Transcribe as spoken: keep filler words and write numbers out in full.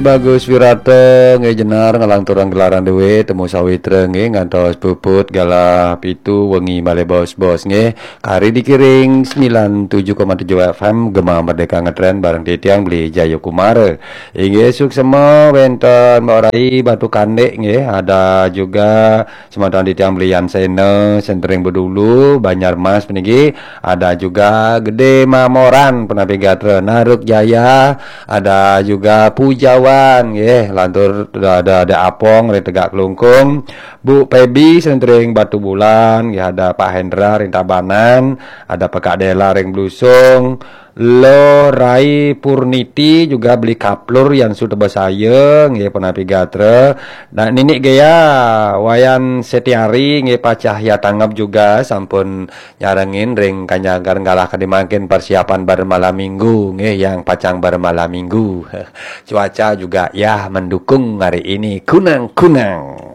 Bagus Wirata nggih, Jenar, ngelanturang gelaran dhewe, Temu Sawitra nggih, ngantos puput galah pitu wengi malih bos-bos nggih. Kari dikiring sembilan tujuh koma tujuh F M Gema Merdeka ngetren bareng titiang Beli Jayakumara. Inggih, suksema wenten Mbak Rai Batu Kandik nggih, ada juga semeton titiang Beli Yan Sena, Sentering Bedulu, Banjarmas puniki, ada juga Gede Mamoran, Penapi Gatra, Naruk Jaya, ada juga Pujawan nggih, lantur ada, ada Apong ring Tegak Kelungkung, Bu Pebi, Sentering Batu Bulan nggih, ada Pak Hendra ring Tabanan, ada Pekak Dela ring Blusung, Lo Rai Purniti juga Beli Kaplur Yan Sutebasaya nggih, Penapi Gatra. Nah, Ninik Gea, Wayan Setiari nggih, Pak Cahya Tanggap juga sampun nyarengin ring kanyagar nggalahake mangkin persiapan bar malam minggu nggih, yang pacang bar malam minggu. Cuaca juga ya mendukung hari ini, kunang-kunang.